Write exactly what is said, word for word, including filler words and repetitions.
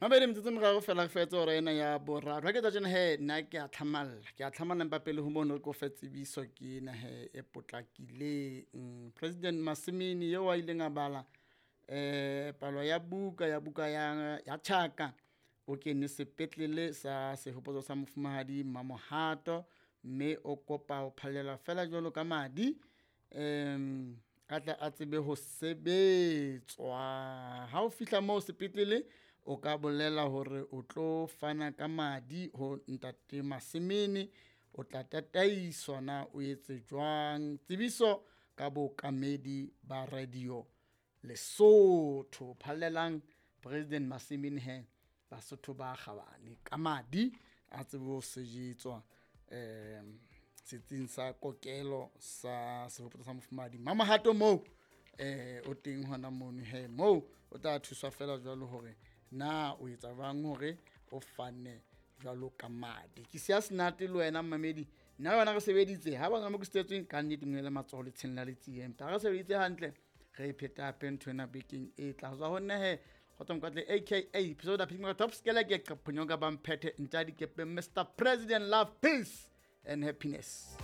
Mabedi metsotso e meraro fela re fetse hora ena ya boraro. Ha ke tsa tjena he nna ke a tlhamalla, ke a tlhamalla empa pele ho mono re ko fe tsebiso ke ena he e potlakileng. President Masimini eo a ileng a bala eh palo ya buka ya buka ya ya Tjhaka o kene sepetlele sa sehopotso sa mofumahadi Mamohato, mme o kopa ho phallelwa feela jwalo ka madi um a tle a tsebe ho sebetswa. Ha o fihla moo sepetlele, o ka bolela hore o tlo fana ka madi ho ntate Masimini, o tla tataiswa na o etse jwang. Tsebiso ka bookamedi ba radio Lesotho. Phallelang President Masimini he Basotho ba kgabane ka madi a tsebe ho sejetswa um setsing sa kokelo sa sehopotso sa mofumahadi Mamohato moo eh o teng hona mono he moo o tla thuswa fela jwalo hore na o etsa jwang hore o fane jwalo ka madi. Ke siya senate le wena mmamedi, nna le wena re sebeditse ha ba mo ke setsweng ka nnete ngwele matsoho le tsheng la letsie, empa re sebeditse hantle re e pheta hape ntho ena bekeng e tla tswa ho nna he Kgotso Mokwatle aka Episode Phimika Top Skele ke qephonyoka ba mphethe ntja dikepeng Mister President, love, peace and happiness.